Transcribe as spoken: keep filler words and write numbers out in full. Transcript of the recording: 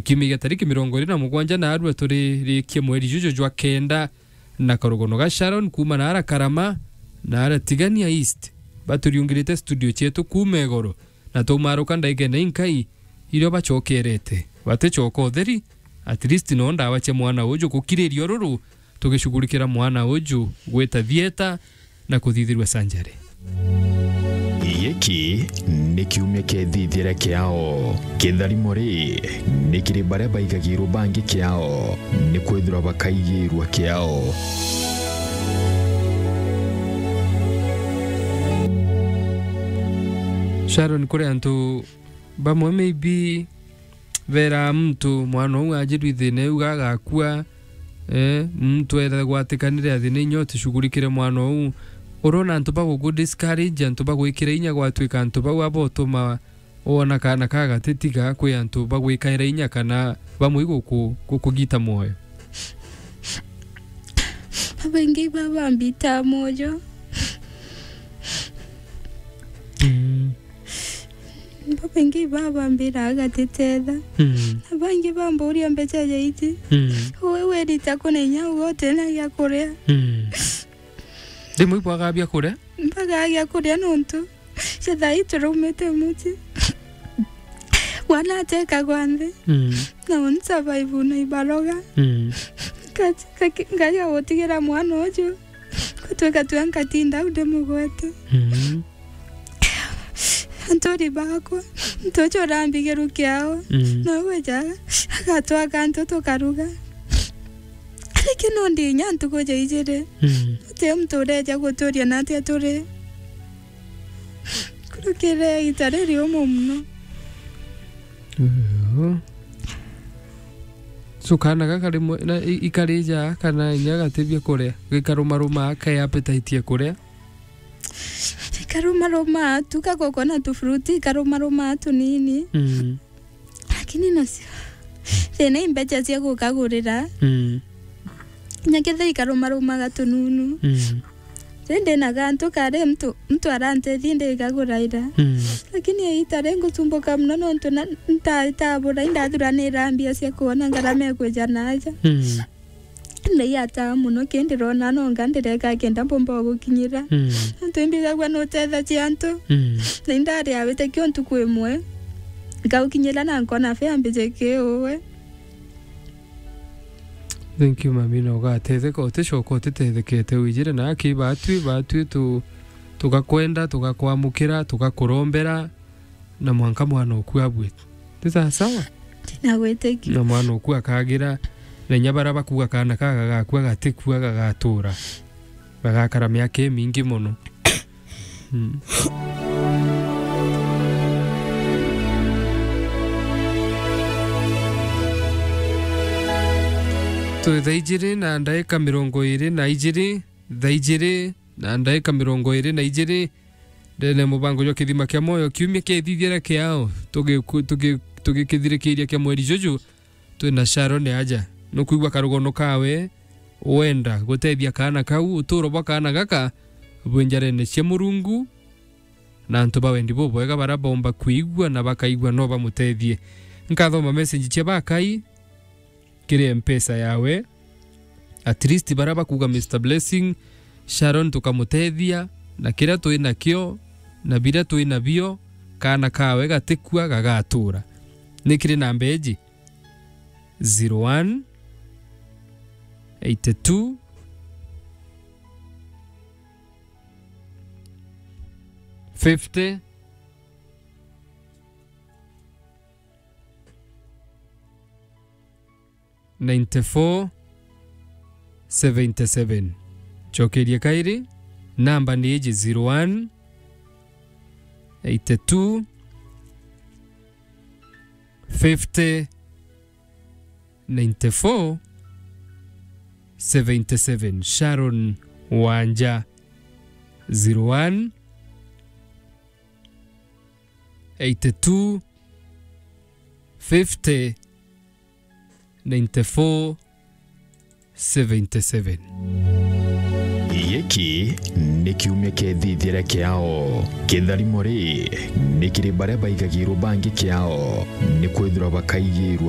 Kiumia gia tariki mirongo iri na mugwanja naarua turirikie mweri juju jwa kenda, na karugono ga Sharon kuuma naara Karama, naara Tigania East, baturiungirite studio cietu kuuma igoro, na twaumaruka ndaigene inkai irio bacokerete. Baticoka utheri, at least no ndawa cia mwana uju gukiriria ururu, tugicugurikira mwana uju gwita thieta na kuthithirua surgery. Giki ni kiumia kia ithithia ria kiao. Kitharimo ri ni kiri baria baigagirwe bangi kiao, ni kwithirwa bakaigirwa kiao. Sharon, kuri antu bamwe maybe beraa muntu mwana uu ajirwi thina iu agakua, eh, muntu ethagwatikanire athina inya uticugurikire mwana uu. Urona antu bagugu discourage, antu bagwikira inya gwatuika antu bau abotuma wona kaana ka gatitiga kwi antu bagwikaira inya kana bamwe guku-, gukugita mwoyo. Babaingi babambita mwoyo. Mm. Babaingi babambira agatitetha. Mm. Na bangi bamburia mbeca ja iti. Mm. Uwe werita kuna inya uga utena gia kuria. Mm. Rimwe ibwaga bia kuria? Mbaga bia kuria nontu cia thaa ii turaumite mucii. Mwana atekagwa nthi. Mm. Na uni survive na ibaroga. Mm. Nkaja, nkaja gutigira mwana uju. Gutwika twa nkatinda au ndimugwete. Mm. Anturi bakwa, ntuju urambigirwa kiao. Mm. No gweja, agatwaka antu tukaruga. Lakini no ndi inya ntuku ja ijiri. Mm. Guti muntu ureja guturia natia turi. Kurukire ita riri umu muno. Uhu. So kaana gaka rimwe na i-, ikarija kana inya gatibia kuria, gikarumaruma kai appetite ya kuria? Ikarumaruma tu, gagukona tu fruit, ikarumaruma tunini. Mm. Lakini nacio, thina i mbeca cia gukagurira. Mm. Kinya kethira ikarumarumaga tununu. Mm. Ri ndina gantu kari muntu, muntu arantethia ndikaguraira. Mm. Lakini iita ri ngucumbuka muno nontu na, nta-, ntabura, indathuranira mbia cia kwona ngarama ikwija na aja. Mm. Ndaiataa muno, ki ndirona nonga ndireka kenda mbomba gukinyira. Mm. Nontu imbigagua nutethagia antu. Mm. Na indari awite kio ntuku imwe. Ngaukinyira na nkona fare mbije ki uwe. Thank you, mami, na ugatetheka, uticoka utitethekete wijire na aki batwi, batwi tu-, tugakwenda, tugakwamukira, tugakurombera, na mwanka mwana oku abwite. Ti sawa sawa? Ndinagwitikia. Na mwana oku akagira, na inya baria bakuga kaana ka gagakua gatikua, gagatura. Bagakara miaka imingi mono. Mm. Twi thaa ijiri na ndaika mirongo iri na ijiri, thaa ijiri na ndaika mirongo iri na ijiri, ndene mubango jwa Kithima kia Mwoyo, kiumia kia ithithia ria kiao, tugiku-, tugi-, tugikithirikiria kia mweri juju, twina Sharon aja. Nukwigua karugono kawe, wenda gutethia kaana kau, uturo bwa kaana gaka bwi njarene cia Murungu, na antu ba wendi bubwega baria bomba kwigua na bakaigua no bamutethie. Nkathoma message cia bakai kiri Mpesa yawe. At least baria bakuga, Mister Blessing, Sharon tukamutethia na kiria twi nakio na biria twi nabio, kaana kawe gatikua gagatura. Ni kiri namba iji, zero one, eighty two, fifty, ninety four, seventy seven. Cokeria kairi, namba ni iji, zero one, eighty two, fifty, ninety four, seventy seven. Sharon Wanja, zero one, eighty two, fifty, ninety four, seventy seven. Giki ni kiumia kia ithithia ria kiao. Kitharimo ri ni kiri baria baigagirwo bangi kiao, ni kwithirwa bakaigirwa